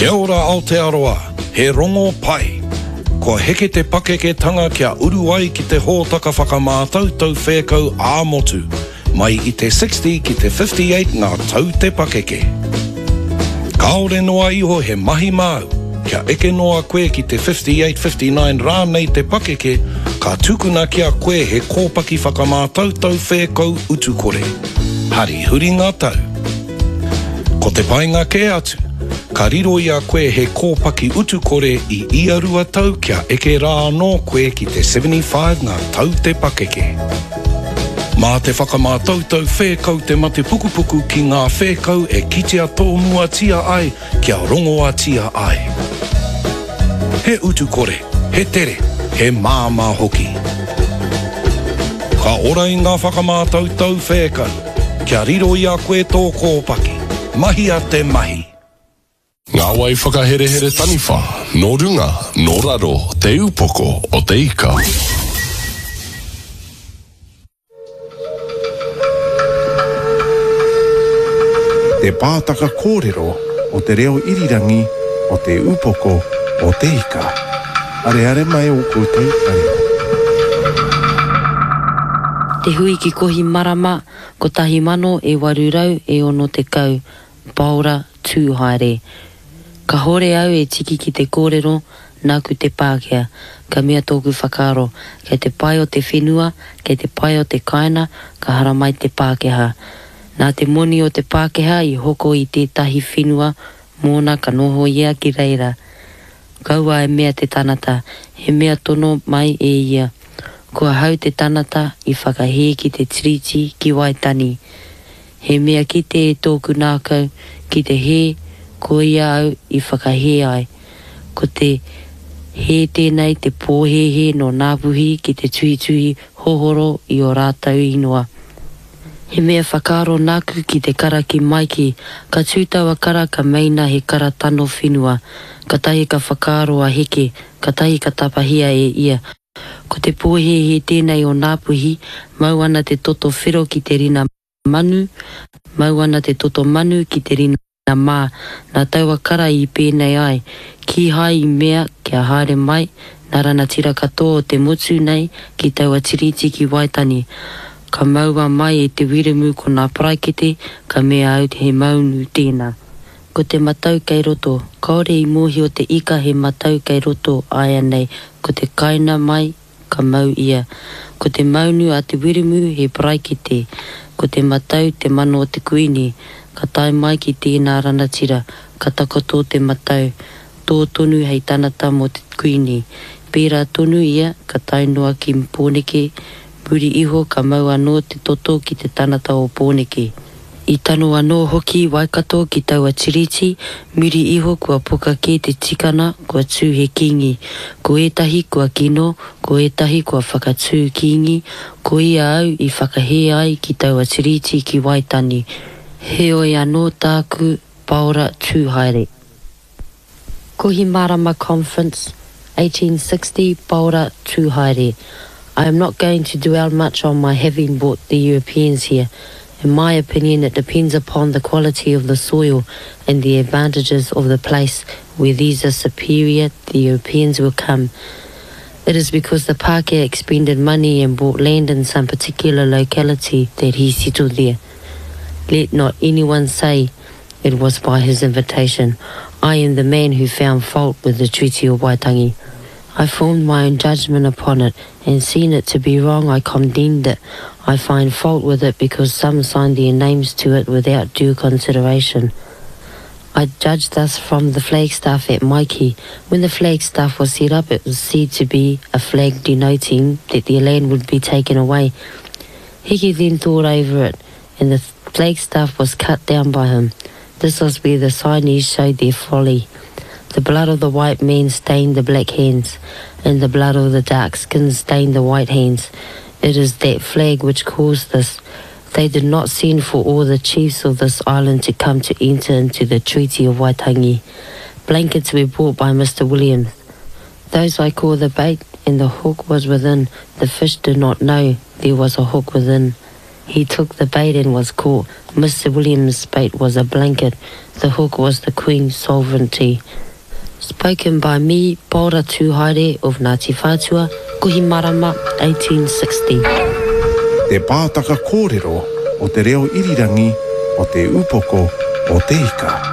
Kia ora Aotearoa, he rongo pai! Kua heke te pakeketanga kia uru ai ki te hōtaka whakamātautau whēkau ā-motu, mai i te 60 ki te 58 ngā tau te pakeke. Kāore noa iho he mahi māu, kia eke noa koe ki te 58, 59 rānei te pakeke, ka tukuna ki a koe he kōpaki whakamātautau whēkau utukore. Hari huri ngā tau! Ko te painga kē atu, ka riro i a koe he kōpaki utukore i ia rua tau kia eke rā anō koe ki te 75 ngā tau te pakeke. Mā te whakamātautau whēkau te mate pukupuku ki ngā whēkau e kitea tōmuatia ai kia rongoatia ai. He utukore, he tere, he māmā hoki. Ka ora i ngā whakamātautau whēkau, kia riro i a koe tō kōpaki. Mahia te mahi! Ngā wai whakaherehere taniwha, nō runga, nō raro, Te Upoko o te Ika. Te Pātaka Kōrero o Te Reo Irirangi o Te Upoko o Te Ika. Areare mai ō koutou taringa. Te hui ki Kohimarama, kotahi mano e waru rau e ono tekau, Paora Tūhaere. Kahore au e tiki ki te kōrero, nāku te Pākehā. Ka mea tōku whakaaro, kei te pae o te whenua, kei te pae o te kāina, ka haramai te Pākehā. Nā te moni o te Pākehā i hoko i tētahi whenua mōna ka noho ia ki reira. Kaua e mea te tanata, he mea tono mai e ia. Ko ahau te tanata i whakahē ki te Tiriti ki Waitani. He mea kite e tōku nākau ki te hē, koia au i whakahē ai. Ko te hē tēnei te pōhēhē nō Ngāpuhi ki te tuhituhi hohoro i ō rātou ingoa. He mea whakaaro nāku ki te kara ki Maiki, ka tū taua kara ka meina he kara tano whenua. Katahi ka whakaaro a Heke, katahi ka tapahia e ia. Ko te pōhēhē tēnei o Ngāpuhi, mau ana te toto whero ki te rina manu, mau ana te toto manu ki te rina mā, nā taua kara i pēnei ai, kīhai i mea kia haere mai nā ranatira katoa o te motu nei ki taua tiriti ki Waitani. Ka maua mai e Te Wiremu ko nā paraikete, ka mea au he maunu tēnā. Ko te matau kei roto. Kaore i mohio te ika he matau kei roto aianei, ko te kaina mai ka mau ia. Ko te maunu a te Wiremu he paraikete. Ko te matau te mana o te Kuini. Ka tae mai ki tēnā ranatira, ka takoto te matau, tō tonu hei tanata mō te Kuini. Pērā tonu ia ka tae noa ki Pōneke, muri iho ka mau anō te toto ki te tanata o Pōneke. I tano anō hoki Waikato ki taua tiriti, muri iho kua poka kē te tikana kua tū he kīngi. Ko ētahi kua kino, ko ētahi kua whakatū kīngi, ko ia au i whakahē ai ki taua tiriti ki Waitani. Heoi anō tāku Paora Tūhaere. Kohimarama Conference, 1860, Paora Tūhaere. I am not going to dwell much on my having brought the Europeans here. In my opinion, it depends upon the quality of the soil and the advantages of the place where these are superior, the Europeans will come. It is because the Pākehā expended money and bought land in some particular locality that he settled there. Let not anyone say it was by his invitation. I am the man who found fault with the Treaty of Waitangi. I formed my own judgment upon it, and seeing it to be wrong, I condemned it. I find fault with it because some signed their names to it without due consideration. I judge thus from the flagstaff at Maiki. When the flagstaff was set up, it was said to be a flag denoting that their land would be taken away. Heke then thought over it, and the flagstaff was cut down by him. This was where the signees showed their folly. The blood of the white man stained the black hands, and the blood of the dark skin stained the white hands. It is that flag which caused this. They did not send for all the chiefs of this island to come to enter into the Treaty of Waitangi. Blankets were bought by Mr. Williams. Those I call the bait, and the hook was within. The fish did not know there was a hook within. He took the bait and was caught. Mr Williams' bait was a blanket. The hook was the Queen's sovereignty. Spoken by me, Paora Tūhaere of Ngāti Whātua, Kohimarama, 1860. Te Pātaka Kōrero o Te Reo Irirangi o Te Upoko o Te Ika.